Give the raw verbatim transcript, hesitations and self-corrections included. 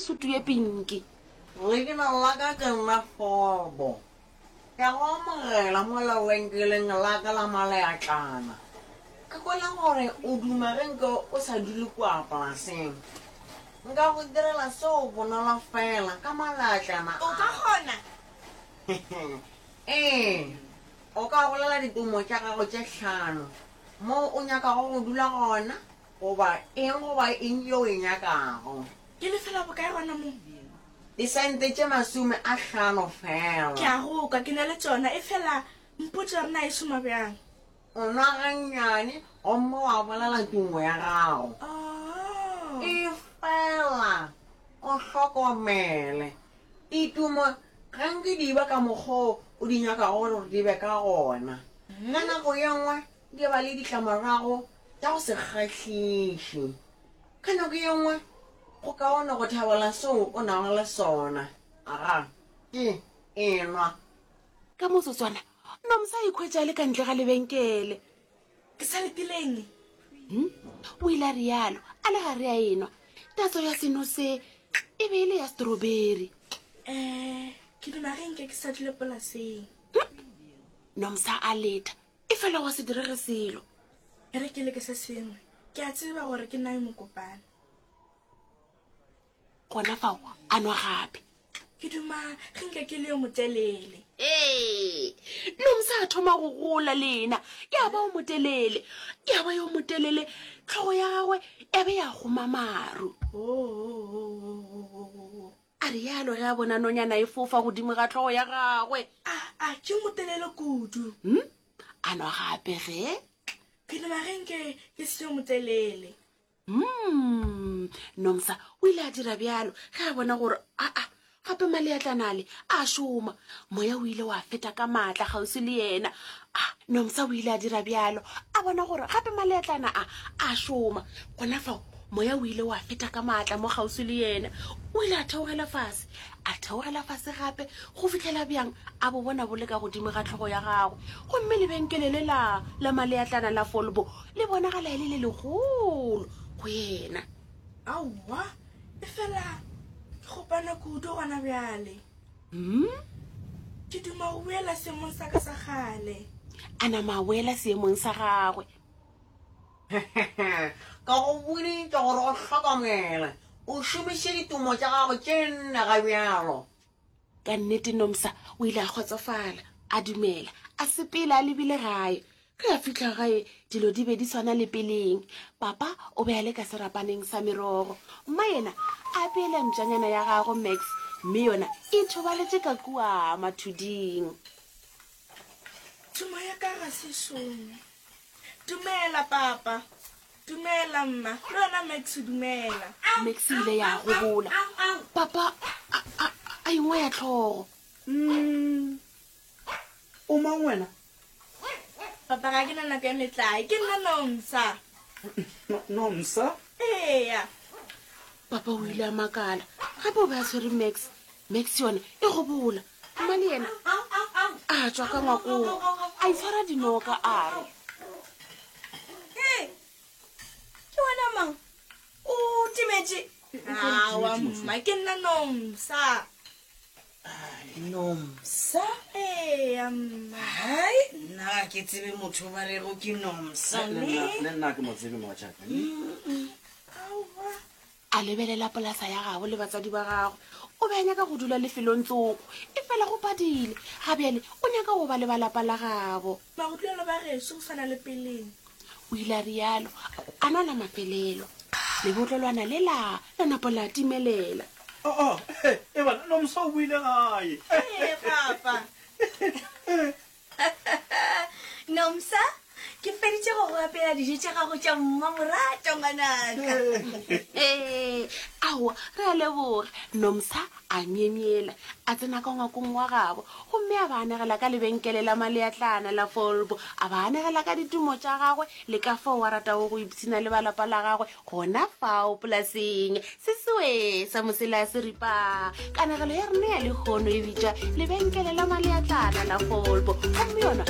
apere sutu ye pinki. Leina la ka ke nna Folbo. Ke a go amogela mo lebenkeleng la ka la maleatlana. Ke kwele gore o duma ge nke o sa dule kua polaseng. Nka go direla seo bonolo feela ka maleatlana O ka a. kgona? Ee, o ka bolela ditumo tša gago tše hlano, moo o nyakago go dula gona goba eng goba eng yeo o e nyakago. Ke lefela bokae gona mo? Disente tše masome a hlano Ke feela. a go kwa, ke na le tšona, efela mpotše gore na e šoma bjang. O nwa gannyane gomme wa bolela tumo ya gago. Oh. Efela o hlokomele, ditumo ga nke di ba ka mokgwa o o di nyakago gore di be ka gona. Ka nako ye nngwe di ba le ditlamorago tša go se kgahliše. Ka nako ye nngwe go kaone go thabela seo o nago le sona. Aga, ke enwa. Ka motsotswana, Nomsa a ikhwetša a le ka ntle ga lebenkele. Ke sa letileng? Hm? O ile a realo, a le gare a enwa. Tatso ya seno se e be e le ya strawberry. Eh, ke duma ge nke ke sa dule polaseng. Nomsa a leta, efela gwa se direge selo. E re ke leke se sengwe. Ke a tseba gore ke nna yo mokopana. Gona fao a nwa gape. Ke duma ge nke ke le yo motelele. Ee, Nomsa a thoma go gola le yena, ya ba o motelele, ya ba yo motelele, hlogo ya gagwe ya be ya goma maru. Oh. A realo ge a bona nonyana e fofa godimo ga hlogo ya gagwe. A, a, ke yo motelele kudu. Hm? A nwa gape ge. Ke duma ge nke ke se yo motelele. Hmm, Nomsa o ile a dira bjalo ge a bona gore aa gape maleatlana ale a šoma. Moya o ile wa feta ka maatla kgauswi le yena. A Nomsa o ile a dira bjalo a bona gore gape maleatlana a a šoma. Gona fao moya o ile wa feta ka maatla mo kgauswi le yena. O ile a theogela fase, a theogela fase gape go fihlela bjang a bo bona bo le ka godimo ga hlogo ya gagwe. Gomme lebenkele le la la maleatlana la Folbo le bonagala e le le legolo go yena. Aowa, efela ke kgopana kudu gona bjale. Hmm? Ke duma go boela seemong sa ka sa kgale. A nama a boela seemong sa gagwe. Ka go boditše gore o hlokomele, o šomiše ditumo tša gago tše nne ga bjalo. Ka nnete Nomsa o ile a kgotsofala, a dumela, a sepela a lebile gae. Ge a fihla gae, dilo di be di swana le peleng. Papa o be a le ka serapaneng sa merogo. Mma yena a apeela mpšanyana ya gagwe Max, mme yona e ithobaletše ka kua mathuding. Tumo ya ka ga se šome. Dumela, papa. Dumela, mma. Le wena, Max, dumela. Max e ile ya gobola. Papa a, a, a ingwaya hlogo. Mm. O mang wena? Papa, ga ke na nako ya metlae. Ke nna Nomsa. No, Nomsa? Eya. Papa o ile a makala. Gape o be a tshwere Max. Max yona e gobola. Mma le yena a tšwa ka ngwakong, a itshwara dinoka a re, Hei, ke wena mang? O timetše? Aowa, mma, ke nna Nomsa. Nomsa? Eya, mma. Hai, nna ga ke tsebe motho ba rego ke Nomsa. Le nna, le nna ke mo tsebe mogatšaka. Aowa. A lebelela polasa ya gabo le batswadi ba gagwe. O be a nyaka go dula lefelong tsoko, efela go padile. Ga bjale o nyaka go ba le ba lapa la gabo. Magudulelo ba gešo go swana le peleng. O ile a realo, a nwa la mafelelo. Lebotlolwana lela la napa la timelela. Oh, oh, eh, eh, bana, Nomsa o boile gae. Ee, papa. Nomsa, ke feditše go go apeela dijo tša gago tša mmamoratwa, ngwanaka. Ee, aowa, re a leboga. Nomsa a myemyela, a tsena ka ngwakong wa gabo gomme a ba anegela ka lebenkele la maleatlana la Folbo, a ba anegela ka ditumo tša gagwe le ka fao a ratago go ipshina le ba lapa la gagwe gona fao polaseng. Sesoe sa mosela seripa. Kanegelo ya rena ya lehono e bitšwa Lebenkele la Maleatlana la Folbo, gomme yona